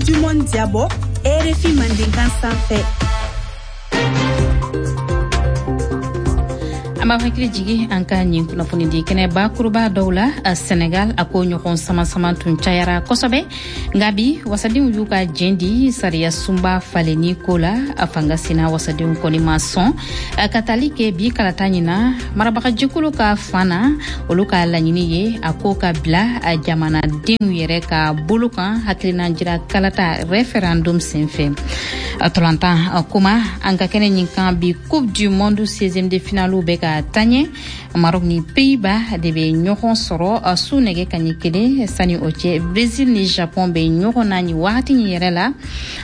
Du Monde jabɔ RFI Mandenkan sanfɛ. An b'aw hakili jigi an ka nin kunnafonidi kɛnɛ bakuruba dɔw la. Senegal, a ko ɲɔgɔn sama-sama tun cayara kosɛbɛ, nka bi wasadenw y'u ka jɛn di sariya sunba falenni ko la. A fanga sina wasadenw kɔni ma sɔn ka tali kɛ bi kalata ɲin na. Marabagajɛkulu ka fan na, olu ka laɲini ye a ko ka bila jamanadenw yɛrɛ ka bolo kan hakilina jira kalata référendum senfɛ. Tɔlantan kuma an ka kɛnɛ ɲin kan bi, Coupe du Monde 16e de finale bɛ ka taɲɛ. Maroc ni Pays-Bas de bɛ ɲɔgɔn sɔrɔ su nɛgɛ kaɲɛ 1. Sani o cɛ, Brésil ni Japon bɛ ɲɔgɔn na nin wagati nin yɛrɛ la.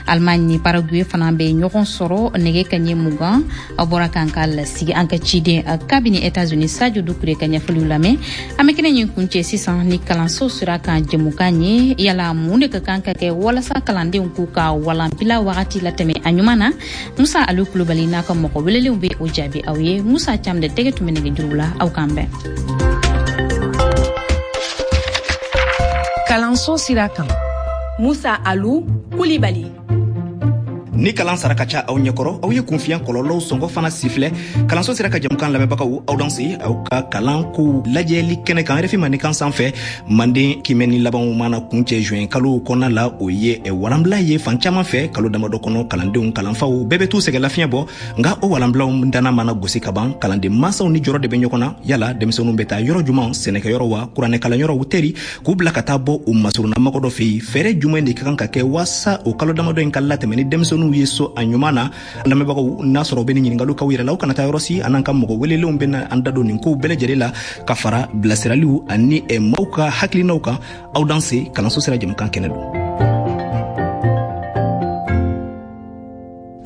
Allemagne ni Paraguay fana bɛ ɲɔgɔn sɔrɔ nɛgɛ kaɲɛ 20. Aw bɔra k'an ka lasigi an ka ciden kabini États-Unis, Sadio Dukure, ka ɲɛfɔliw lamɛn. An bɛ kɛnɛ ɲin kuncɛ sisan ni kalanso sira kan jɛmukan ye. Yala mun de ka kan ka kɛ walasa kalandenw k'u ka walanbila wagati latɛmɛ a ɲuman na? Musa Alu Kulubali n'a ka mɔgɔ welelenw bɛ o jaabi aw ye. Musa Cam de tɛgɛ tun bɛ nɛgɛjuru la. Aw k'an bɛn. Kalanso sira kan, Musa Alu Kulibali. Ni kalan sara ka ca aw ɲɛkɔrɔ, aw ye kunfiya kɔlɔlɔw sɔngɔ fana sifilɛ. Kalanso sera ka jamukan lamɛnbagaw, aw danse aw ka kalan kow lajɛli kɛnɛ kan RFI Mandenkan sanfɛ. Manden kimɛni labanw mana kuncɛ juin kalo kɔnɔna la, o ye walanbila ye fan caman fɛ. Kalo damadɔ kɔnɔ, kalandenw, kalanfaw bɛɛ bɛ t'u sɛgɛ lafiɲɛ bɔ. Nka o walanbilaw danna mana gosi ka ban, kalanden mansaw ni jɔrɔ de bɛ ɲɔgɔn na. Yala denmisɛnninw bɛ taa yɔrɔ juman? Sɛnɛkɛyɔrɔ wa, kuranɛ kalanyɔrɔw, teri k'u bila ka taa bɔ u masurunna dɔ fɛ yen? Fɛɛrɛ jumɛn de ka kan ka kɛ waasa o kalo damadɔ in ka latɛmɛ ni denmisɛnninw ye so a ɲuman na? Lamɛnbagaw, n'a sɔrɔ u bɛ ni ɲininkaliw k'aw yɛrɛ la, aw kana taa yɔrɔ si. An n'an ka mɔgɔ welelenw bɛna an da don nin kow bɛɛ lajɛlen la, ka fara bilasiraliw ani maaw ka hakilinaw kan. Aw danse, kalanso sira jɛmukan kɛnɛ don.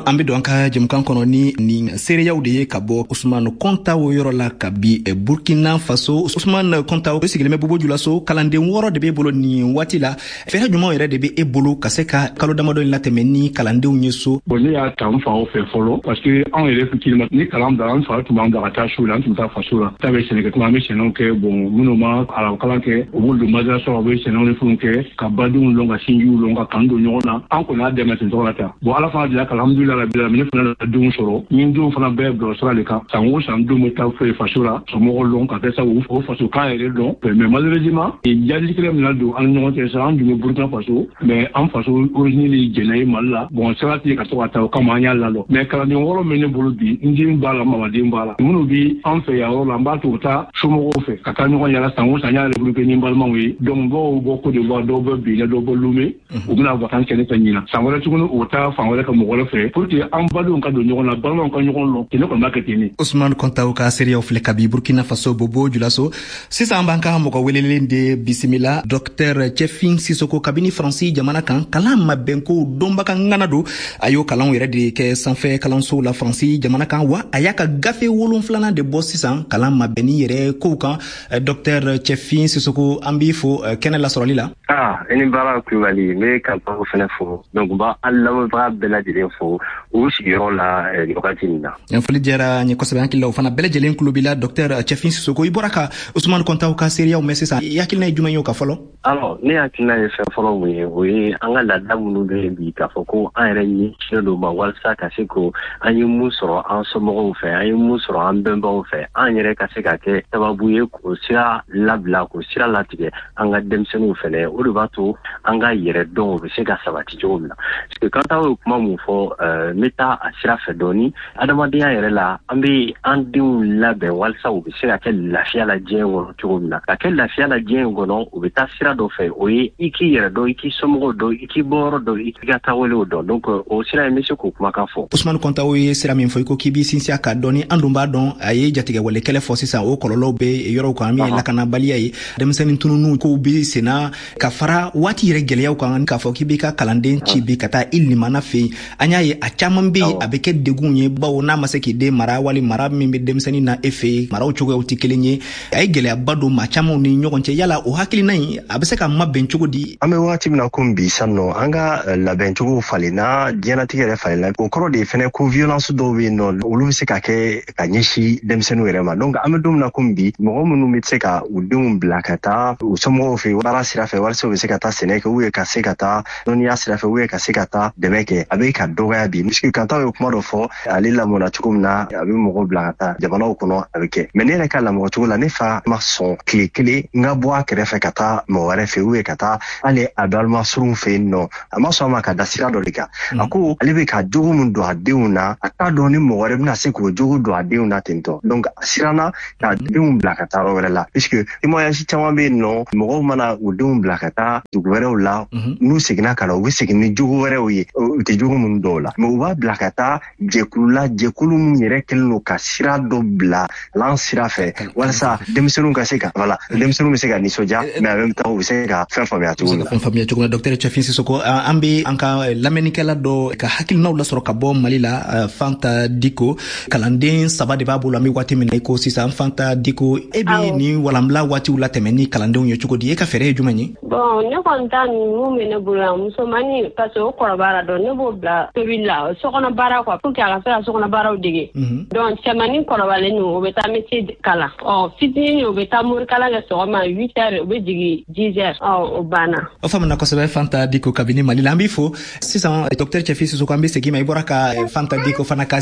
An be don an ka jɛmukan kɔnɔ ni nin seereyaw de ye ka bɔ Usman Kɔntaw yɔrɔ la ka bi Burkina Faso. Usman Kɔntaw sigilen bɛ Bobo Julaso. Kalanden 6 de b'e bolo nin waati la. Fɛɛrɛ jumɛnw yɛrɛ de bɛ e bolo ka se ka kalo damadɔ in latɛmɛ ni kalandenw ye so? Bon, ne y'a ta n faw fɛ fɔlɔ, parce que anw yɛrɛ fitinin, ni kalan bila, an fa tun b'an bila ka taa so la. An tun bɛ taa faso la, ta bɛ sɛnɛkɛ tuma, an bɛ sɛnɛw kɛ. Bon, minnu ma arabu kalan kɛ, u b'olu don madrasa, u bɛ sɛnɛw ni fɛnw kɛ, ka badenw lɔn, ka sinjiw lɔn, ka kan don ɲɔgɔn na. An kɔni y'a dɛmɛ ten tɔgɔ la tan. Bon, Ala fana delila ka, alhamdulilah rabbil alamin, ne fana denw sɔrɔ. Ni denw fana bɛɛ bila sira de kan. San o san, denw bɛ taa fɛ faso la, somɔgɔw lɔn, ka kɛ sabu o faso kan yɛrɛ dɔn. Mais malheureusement, jalikɛla min na don an ni ɲɔgɔn cɛ sa, an dun bɛ Burukina Faso, mais an faso origine de jɛnɛ ye Mali la. Bon, sira tɛ ka to ka taa, o kama an y'a lalɔ. Mais kalanden 6 min ne bolo bi, n den b'a la, mamaden b'a la, minnu bi an fɛ yan yɔrɔ la, n b'a to u taa somɔgɔw fɛ ka taa ɲɔgɔn yala. San o san, n y'a regroupé ni n balimaw ye. Donc dɔw bɔ Côte d'Ivoire, dɔw bɔ Benin, dɔw bɔ Lomé, u bɛna vacances kɛ ne fɛ ɲinan. San wɛrɛ tuguni, u taa fan wɛrɛ ka mɔgɔ wɛrɛ fɛ, pour que an badenw ka don ɲɔgɔn na, balimaw ka ɲɔgɔn lɔn. Ne kɔni b'a kɛ ten de. Usman Kɔntaw ka seereyaw filɛ kabi Burkina Faso, Bobo Julaso. Sisan an b'an ka mɔgɔ welelen de bisimila, Docteur Cɛfin Sisoko, kabini Faransi jamana kan. Kalan mabɛnkow dɔnbaga ŋana don. A y'o kalanw yɛrɛ de kɛ sanfɛ kalansow la Faransi jamana kan, wa a y'a ka gafe 7nan de bɔ sisan kalan mabɛnni yɛrɛ kow kan. Docteur Cɛfin Sisoko, an b'i fo kɛnɛ lasɔrɔli la. Ah, i ni baara Kulubali. N bɛ kalanfaw fɛnɛ fo. Donc n b'a an lamɛnbaga bɛɛ lajɛlen fo u sigiyɔrɔ la nin wagati nin na. Foli diyara n ye kosɛbɛ. Hakili la, o fana bɛɛ lajɛlen kulo b'i la. Docteur Cɛfin Sisoko, i bɔra ka Usumani Kɔntaw ka seereyaw mɛn sisan. I hakilina ye jumɛn ye o ka fɔlɔ? Alors, ne hakilina ye fɛn fɔlɔ mun ye, o ye an ka laada minnu bɛ yen bi, k'a fɔ ko an yɛrɛ ɲɛsinnen don ma walasa ka se ko an ye mun sɔrɔ an somɔgɔw fɛ, an ye mun sɔrɔ an bɛnbaw fɛ, an yɛrɛ ka se ka kɛ sababu ye k'o sira labila, k'o sira latigɛ an ka denmisɛnninw fɛnɛ. O de b'a to an ka yɛrɛ dɔn o bɛ se ka sabati cogo min na. Parce que Kantaw ye kuma mun fɔ, n bɛ taa a sira fɛ dɔɔni. Adamadenya yɛrɛ la, an bɛ an denw labɛn walasa u bɛ se ka kɛ lafiya la diɲɛ kɔnɔ cogo min na. Ka kɛ lafiya la diɲɛ in kɔnɔ, u bɛ taa sira dɔ fɛ, o ye i k'i yɛrɛ dɔn, i k'i somɔgɔw dɔn, i k'i bɔyɔrɔ dɔn, i k'i ka taabolow dɔn. Donc o sira in, n bɛ se k'o kumakan fɔ. Usumani Kɔntaw ye sira min fɔ, i ko k'i b'i sinsin a kan dɔɔni. An dun b'a dɔn, a ye jatigɛwale kɛlɛ fɔ sisan, o kɔlɔlɔw bɛ yɔrɔw kan min ye lakanabaliya ye, denmisɛnnin tununu kow bɛ senna, ka fara waati yɛrɛ gɛlɛyaw kan. K'a fɔ k'i b'i ka kalanden ci bi ka taa i limana fɛ yen, an y'a ye a Caman bɛ yen, a bɛ kɛ degun ye, bawo n'a ma se k'i den mara, wali mara min bɛ denmisɛnnin na e fɛ yen, maraw cogoyaw tɛ kelen ye. A ye gɛlɛyaba don maa camanw ni ɲɔgɔn cɛ. Yala o hakilina in, a bɛ se ka mabɛn cogo di? An bɛ wagati min na komi bi sisan nɔ, an ka labɛncogo falenna, diɲɛlatigɛ yɛrɛ falenna. O kɔrɔ de ye fɛnɛ ko violence dɔw bɛ yen nɔ, olu bɛ se ka kɛ ka ɲɛsin denmisɛnninw yɛrɛ ma. Donc an bɛ don min na komi bi, mɔgɔ minnu bɛ se ka u denw bila ka taa u somɔgɔw fɛ baara sira fɛ, walasa u bɛ se ka taa sɛnɛ kɛ, ou bien ka se ka taa dɔnniya sira fɛ, ou bien ka se ka taa dɛmɛ kɛ, a bɛ ka dɔgɔya bi. Puisque Kantaw ye kuma dɔ fɔ, ale lamɔna cogo min na, a bɛ mɔgɔw bila ka taa jamanaw kɔnɔ, a bɛ kɛ. Mais ne yɛrɛ ka lamɔ cogo la, ne fa ma sɔn tile kelen n ka bɔ a kɛrɛfɛ ka taa mɔgɔ wɛrɛ fɛ, ou bien ka taa hali a balima surunw fɛ yen nɔ. A ma sɔn a ma ka da sira dɔ de kan. A ko ale bɛ ka jogo min don a denw na, a t'a dɔn ni mɔgɔ wɛrɛ bɛna se k'o jogo don a denw na ten tɔ. Donc a siranna ka denw bila ka taa yɔrɔ wɛrɛ la, puisque témoignage caman bɛ yen nɔ, mɔgɔw mana u denw bila ka taa dugu wɛrɛw la, n'u seginna ka na, u bɛ segin ni jogo wɛrɛw ye, u tɛ jogo minnu dɔw la. Mais u b'a bila ka taa jɛkulu la, jɛkulu min yɛrɛ kɛlen don ka sira dɔ bila lan sira fɛ, walasa denmisɛnninw ka se ka, voilà, denmisɛnninw bɛ se ka nisɔndiya, mais en même temps u bɛ se ka fɛn faamuya cogo min na. Fɛn faamuya cogo min na. Docteur Cɛfin Sisoko, an bɛ an ka lamɛnnikɛla dɔ ka hakilinaw lasɔrɔ ka bɔ Mali la, Fanta Diko. Kalanden saba de b'a bolo an bɛ waati min na i ko sisan. Fanta Diko, e bɛ nin walanbila waatiw latɛmɛ ni kalandenw ye cogo di? E ka fɛɛrɛ ye jumɛn ye? Bon, ne kɔni ta ninnu bɛ ne bolo yan, musomannin, parce que o kɔrɔbayara dɔn, ne b'o bila tobili la, sokɔnɔ baara quoi, pour que a ka se ka sokɔnɔ baaraw dege. Donc cɛmannin kɔrɔbalen ninnu, o bɛ taa métier kalan. Ɔ fitinin, o bɛ taa morikalan kɛ sɔgɔma 8 heures, o bɛ jigin 10 heures. Ɔ o banna. O faamuna kosɛbɛ, Fanta Diko kabini Mali la, an b'i fo. Sisan, docteur Cɛfin Sisoko, an bɛ segin ma. I bɔra ka Fanta Diko fana ka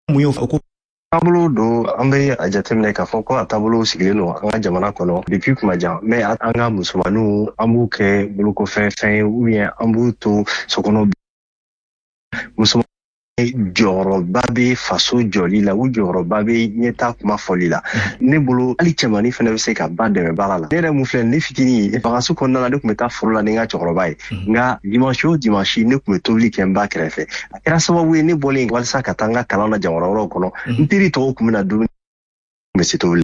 mun ye o ko Taabolo don, an bɛ a jateminɛ k'a fɔ ko a taabolo sigilen don an ka jamana kɔnɔ depuis kuma jan. Mais an ka musomaninw, an b'u kɛ bolokɔfɛ fɛn ye, ou bien an b'u to so kɔnɔ. Muso jɔyɔrɔba bɛ faso jɔli la, u jɔyɔrɔba bɛ ɲɛta kuma fɔli la. Ne bolo, hali cɛmannin fana bɛ se ka ba dɛmɛ baara la. Ne yɛrɛ mun filɛ, ne fitinin, vacances kɔnɔna la, ne tun bɛ taa foro la ni n ka cɛkɔrɔba ye. Nka dimanche o dimanche, ne tun bɛ tobili kɛ n ba kɛrɛfɛ. A kɛra sababu ye, ne bɔlen walasa ka taa n ka kalan na jamana wɛrɛw kɔnɔ, n teri tɔw tun bɛ na dumuni bɛ se tobili.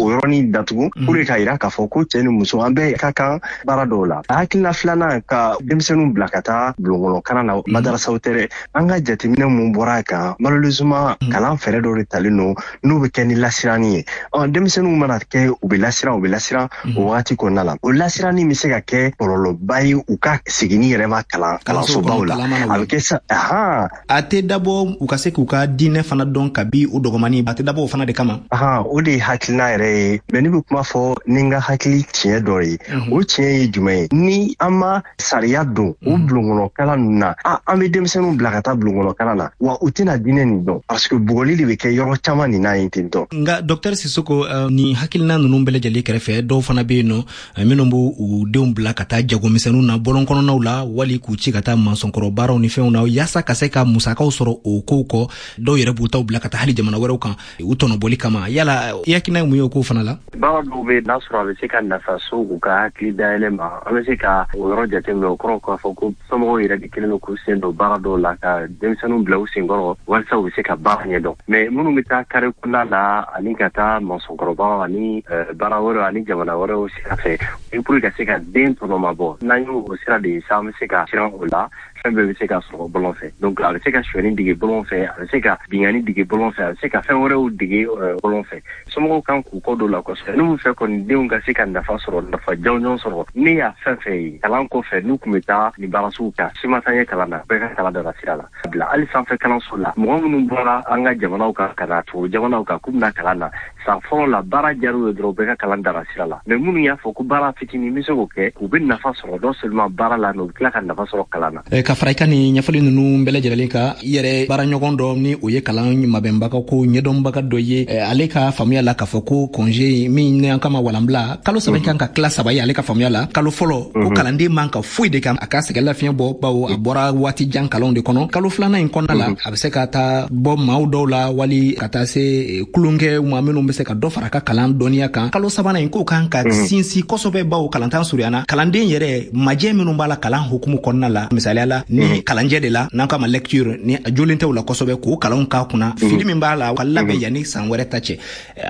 O yɔrɔnin datugu pour que k'a yira k'a fɔ ko cɛ ni muso, an bɛɛ ka kan baara dɔw la. A hakilina filanan, ka denmisɛnninw bila ka taa bulonkɔnɔ kalan na, madarasaw tɛ dɛ. An ka jateminɛ mun bɔra a kan, malheureusement kalan fɛɛrɛ dɔw de talen don n'o bɛ kɛ ni lasiranni ye. Ɔ denmisɛnninw mana kɛ, u bɛ lasiran, u bɛ lasiran o wagati kɔnɔna la. O lasiranni bɛ se ka kɛ kɔlɔlɔba ye u ka seginni yɛrɛ ma kalan kalansobaw la. A bɛ kɛ sa ahan. A tɛ dabɔ u ka se k'u ka diinɛ fana dɔn kabi u dɔgɔmani, a tɛ dabɔ o fana de kama? Ahan, o de ye hakilina yɛrɛ ye. Mais ne bɛ kuma fɔ ni n ka hakili tiɲɛ dɔ ye. O tiɲɛ ye jumɛn ye? Ni an ma sariya don o bulonkɔnɔ kalan ninnu na, an bɛ denmisɛnninw bila ka taa bulonkɔnɔ kalan na, wa u tɛna diinɛ nin dɔn, parce que bugɔli de bɛ kɛ yɔrɔ caman nin na yen ten tɔ. Nka docteur Sisoko, nin hakilina ninnu bɛɛ lajɛlen kɛrɛfɛ, dɔw fana bɛ yen nɔ minnu b'u u denw bila ka taa jagomisɛnninw na bɔlɔn kɔnɔnaw la, wali k'u ci ka taa mansɔnkɔrɔ baaraw ni fɛnw na, yaasa ka se ka musakaw sɔrɔ o kow kɔ. Dɔw yɛrɛ b'u taw bila ka taa hali jamana wɛrɛw kan u tɔnɔbɔli kama. Yala i hakilina ye mun ye o kow fana la? Baara dɔw bɛ, n'a sɔrɔ a bɛ se ka nafa so u ka hakili dayɛlɛ ma, an bɛ se ka o yɔrɔ jateminɛ. O kɔrɔ k'a fɔ ko somɔgɔw yɛrɛ de kɛlen don k'u sen don baara dɔw la, ka denmisɛnninw bila u senkɔrɔ walasa u bɛ se ka baara ɲɛdɔn. Mais minnu bɛ taa kare kɔnɔna la ani ka taa mansɔnkɔrɔbaw ani baara wɛrɛw ani jamana wɛrɛw sira fɛ, pour ka se ka den tɔnɔmabɔ, n'an y'o sira de ye sa, an bɛ se ka siran o la. Fɛn bɛɛ bɛ se ka sɔrɔ bɔlɔn fɛ. Donc a bɛ se ka sonyɛni dege bɔlɔn fɛ, a bɛ se ka binkanni dege bɔlɔn fɛ, a bɛ se ka fɛn wɛrɛw dege bɔlɔn fɛ. Somɔgɔw kan k'u kɔ don la kosɛbɛ. N'u fɛ kɔni denw ka se ka nafa sɔrɔ, nafa jɔnjɔn sɔrɔ, ne y'a fɛn fɛn ye kalan kɔfɛ, n'u tun bɛ taa nin baara sugu kan, si ma taa ɲɛ kalan na, bɛɛ ka kalan dara sira la bila. Hali sanfɛ kalanso la, mɔgɔ minnu bɔra an ka jamanaw kan ka na tubabu jamanaw kan k'u bɛna kalan na, san fɔlɔ la baara diyar'u ye dɔrɔn, bɛɛ ka kalan dara sira la. Mais minnu y'a fɔ ko baara fitinin bɛ se k'o kɛ, u bɛ nafa sɔrɔ non seulement baara la, mais u bɛ tila ka nafa sɔrɔ kalan na. Ka fara i ka nin ɲɛfɔli ninnu bɛɛ lajɛlen kan, i yɛrɛ baaraɲɔgɔn dɔ, ni o ye kalan mabɛnbaga ko ɲɛdɔnbaga dɔ ye, ale ka faamuya la k'a fɔ ko congé min ni an kama walanbila kalo 3 kan ka tila saba ye, ale ka faamuya la, kalo fɔlɔ ko kalanden man ka foyi de kɛ, a ka sɛgɛn lafiɲɛ bɔ, bawo a bɔra waati jan kalanw de kɔnɔ. Kalo filanan in kɔnɔna la, a bɛ se ka taa bɔ maaw dɔw la, wali ka taa se tulonkɛ ma minnu bɛ se ka dɔ fara a ka kalan dɔnniya kan. Kalo sabanan in, k'o kan ka sinsin kosɛbɛ, bawo kalantan surunyana, kalanden yɛrɛ majɛ minnu b'a la kalan hukumu kɔnɔna la, misaliya la. la ni kalanjɛ de la, n'an k'a ma lecture, ni a jolen tɛ o la kosɛbɛ, k'o kalanw k'a kunna, fili min b'a la, ka labɛn yanni san wɛrɛ ta cɛ.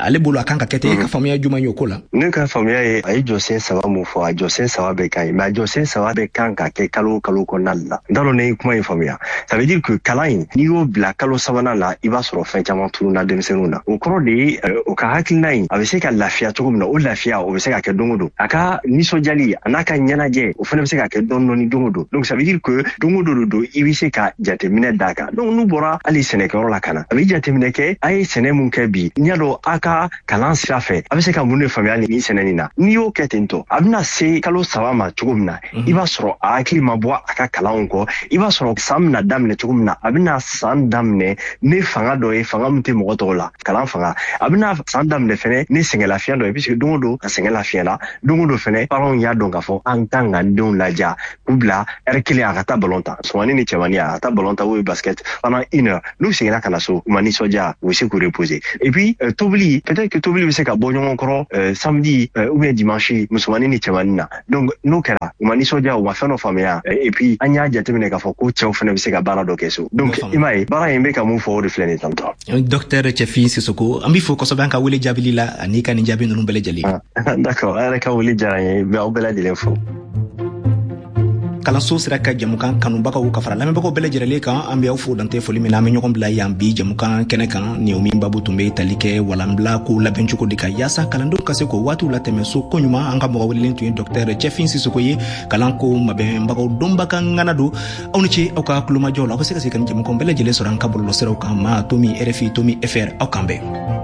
Ale bolo, a kan ka kɛ ten. E ka faamuya jumɛn ye o ko la? Ne ka faamuya ye, a ye jɔsen saba mun fɔ, a jɔsen saba bɛɛ ka ɲi, mais a jɔsen saba bɛɛ kan ka kɛ kalo o kalo kɔnɔna la. N t'a dɔn ne ye kuma in faamuya. Ça veut dire que kalan in, n'i y'o bila kalo sabanan la, i b'a sɔrɔ fɛn caman tununa denmisɛnninw na. O kɔrɔ de ye, o ka hakilina in, a bɛ se ka lafiya cogo min na, o lafiya o bɛ se ka kɛ don o don. A ka nisɔndiyali a n'a ka ɲɛnajɛ, o fana bɛ se ka kɛ dɔɔni dɔɔni don o don. Donc ça veut dire que don o don don, i bɛ se ka jateminɛ d'a kan. Donc n'u bɔra hali sɛnɛkɛyɔrɔ la ka na, a bɛ jateminɛ kɛ: a ye sɛnɛ mun kɛ bi? N'i y'a dɔn a ka kalan sira fɛ, a bɛ se ka mun de faamuya nin sɛnɛ nin na? N'i y'o kɛ ten tɔ, a bɛna se kalo 3 ma cogo min na, i b'a sɔrɔ a hakili ma bɔ a ka kalanw kɔ. I b'a sɔrɔ san bɛna daminɛ cogo min na, a bɛna san daminɛ ni fanga dɔ ye, fanga min tɛ mɔgɔ tɔw la, kalan fanga. A bɛna san daminɛ fɛnɛ ni sɛgɛn lafiya dɔ ye, puisque don o don a sɛgɛn lafiya la. Don o don fɛnɛ, parents y'a dɔn k'a fɔ an kan ka denw laja, k'u bila heure kelen, a ka taa ballon ta, musomanin ni cɛmanin, a ka taa ballon ta ou basket pendant une heure. N'u seginna ka na so, u ma nisɔndiya, u bɛ se k'u reposer. Et puis tobili, peut-être que tobili bɛ se ka bɔ ɲɔgɔn kɔrɔ samedi ou bien dimanche, musomanin ni cɛmanin na. Donc n'o kɛra, u ma nisɔndiya, u ma fɛn dɔ faamuya. Et puis an y'a jateminɛ k'a fɔ ko cɛw fɛnɛ bɛ se ka baara dɔ kɛ so. Donc i m'a ye, baara in bɛ ka mun fɔ, o de filɛ nin ye tantɔ. Docteur Cɛfin Sisoko, an b'i fo kosɛbɛ an ka wele jaabili la ani ka nin jaabi ninnu bɛɛ lajɛlen. D'accord, a yɛrɛ ka wele diyara n ye, n bɛ aw bɛɛ lajɛlen fo. Kalanso sira ka jamukan kanubagaw ka fara lamɛnbagaw bɛɛ lajɛrɛlen kan, an be aw fo dantɛ foli min na. An be ɲɔgɔn bila yan bi jamukan kɛnɛ kan ni o min babu tun be tali kɛ walanbila ko labɛn cogo de kan, yaasa kalandenw ka se k'o waatiw latɛmɛ so koɲuman. An ka mɔgɔ welelen tun ye dɔktɛr Cɛfin Sisoko ye, kalan ko mabɛnbagaw dɔnbaga ŋana don. Aw ni ce aw ka kulomajɔw la. Aw be se ka se ka nin jamukan bɛɛ lajɛlen sɔrɔ an ka bɔlɔlɔsiraw kan, ma tomi rfi tomi fr. Aw kan bɛn.